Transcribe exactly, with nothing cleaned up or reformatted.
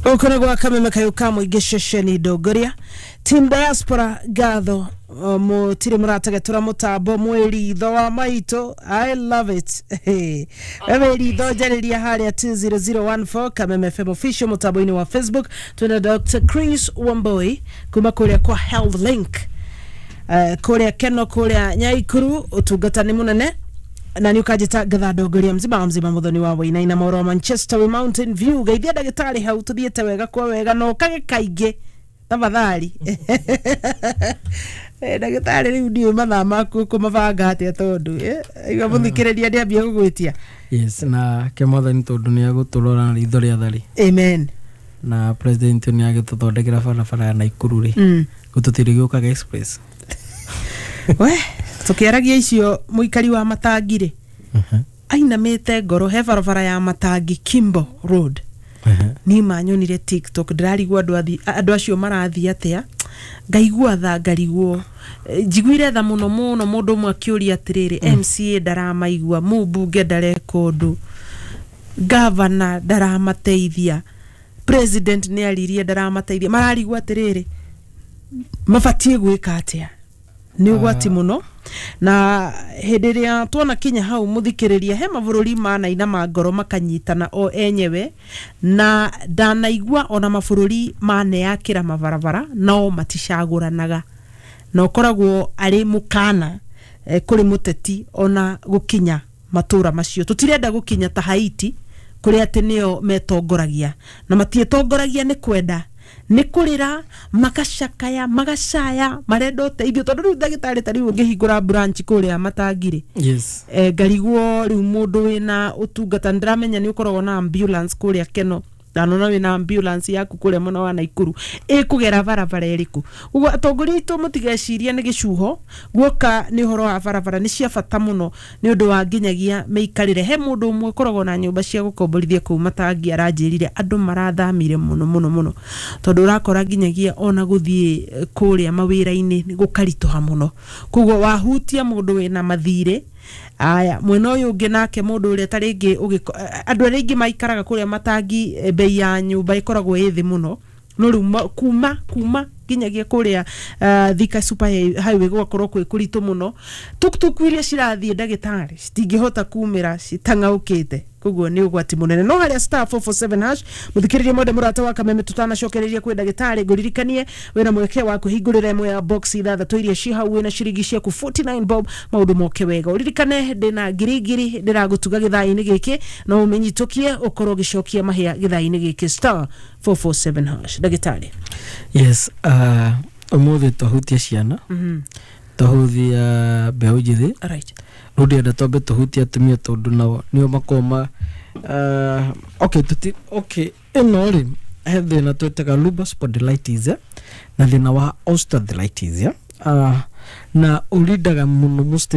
Gũkũ nĩ gwa Kameme kayũ ka mũingĩ, ceceni ndongoria team diaspora. Ngatho o, mũtirĩ mũrategetũra mũtambo. Mwĩritho wa maitũ, I love it. We wĩritho, njarĩria harĩa two zero zero one four Kameme F M official mũtambo-inĩ wa Facebook. Twĩna Doctor Chris Wamboi kuma kũrĩa kwa Health Link, uh, kũrĩa Keno, kũrĩa Nyaikuru. Ũtungata nĩ mũnene na nĩ ũkanjĩta ngatha ndongoria mzima wa mzima, mũthoni wa Wainaina, moro wa Manchester wi Mountain View. Geithia ndagĩtarĩ hau, tũthiĩte wega kwa wega na ũkage kaingĩ tafadhali. Eh, ndagĩtarĩ, rĩu ndiũĩ mathaa maku ũkũmabanga atĩa, tondũ eh, igua mũthikĩrĩria ndĩambia gũgwĩtia. Yes, na ke Mwathani tondũ nĩ agũtũrora na ritho rĩa thari. Amen. Na president nĩ agĩtũthondekera barabara ya Naikuru rĩ, mm. gũtũtirĩ gĩũkaga express. We tũkĩaragia icio, mũikari wa Matangi rĩ ainamĩte ngoro he barabara ya Matangi Kimbo Road. Niĩ manyonire TikTok, ndĩrarigwo andũ athi- andũ acio marathiĩ atĩa. Ngaigua tha, ngarigwo. Eh, njiguire tha mũno mũno. Mũndũ ũmwe akĩũria atĩrĩrĩ, M C A ndaramaigua, mũmbunge ndareka ũndũ, gavana ndaramateithia, president nĩ aririe ndaramateithia. Mararigwo atĩrĩrĩ, mabatiĩ gwĩka atĩa? Nĩ ũgwati mũno. Na hĩndĩ ĩrĩa tuona kinya hau, mũthikĩrĩria, he mabũrũri manainama ngoro makanyitana o enyewe, na ndanaigua ona mabũrũri maneyakĩra mabarabara nao maticagũranaga, na ũkoragwo arĩ mũkana eh, kũrĩ mũteti ona gũkinya matũra macio. Tũtirenda gũkinya ta Haiti, kũrĩa atĩ nĩo metongoragia, na matiĩtongoragia nĩ kwenda, nĩ kũrĩra magacakaya, magacaya, marenda ũteithio. Tondũ rĩu ndagĩtarĩ, ta rĩu ũngĩhingũra branch kũrĩa Matangirĩ, yes e, ngarigwo rĩu mũndũ wĩna ũtungata. Ndĩramenya nĩ ũkoragwo na ambulance kũrĩa Keno, ndanona wĩna ambulance yaku kũrĩa mwena wa Naikuru. Ĩkũgera barabara ĩrĩkũ? Ũguo atongoria aitũ, mũtigecirie nĩ gĩcuho guoka nĩ ũhoro wa barabara. Nĩ cia bata mũno nĩ ũndũ wa nginyagia mĩikarĩre. He mũndũ ũmwe ũkoragwo na nyũmba cia gũkomborithia kũu Matangi aranjĩrire andũ marathamire mũno mũno mũno, tondũ ũrakora nginyagia ona gũthiĩ eh, kũrĩa mawĩra-inĩ nĩ gũkaritũha mũno. Koguo wahutia mũndũ wĩna mathirĩ aya mwena ũyũ ũngĩ, nake mũndũ ũrĩa ta rĩngĩ ũgĩko- eh, andũ arĩa aingĩ maikaraga kũrĩa Matangi, eh, bei ya nyũmba ĩkoragwo ĩ thĩ mũno, no rĩu ma- kuma kuma nginyagia kũrĩa uh, Thika Super Highway gũgakorwo kwĩ kũritũ mũno. Tuktuku iria cirathiĩ, ndagĩtarĩ, citingĩhota kumĩra citang'aũkĩte. Koguo nĩ ũgwati mũnene. No harĩa star four four seven hash, mũthikĩrĩria mwende, mũrata wa Kameme, tutanacokereria kwĩ ndagĩtarĩ, ngũririkanie wĩna mweke wa kwĩhingũrĩra ĩmwe ya box ithathatũ iria ci hau wĩna ciringi ciaku forty-nine bob, maũndũ moke wega. Ũririkane ndĩna ngiri ngiri ndĩragũtuga gĩthaa-inĩ gĩkĩ, no ũmenyitũkie ũkorwo ũgĩcokia mahĩa gĩthaa-inĩ gĩkĩ, star four four seven hash. Ndagĩtarĩ. Yes, uh, ũmũthĩ twahutia ciana, mm twahutia mbeũ njĩthĩ. -hmm. right Rĩu ndĩrenda twambe tũhutie atumia, tondũ nao nĩo makoragwo ma uh, okay, tuti, okay, ĩno rĩ, he thĩna twĩtaga lumbar spondylitis, eh, na thĩna wa osteoarthritis, eh? uh, na ũrindaga mũno.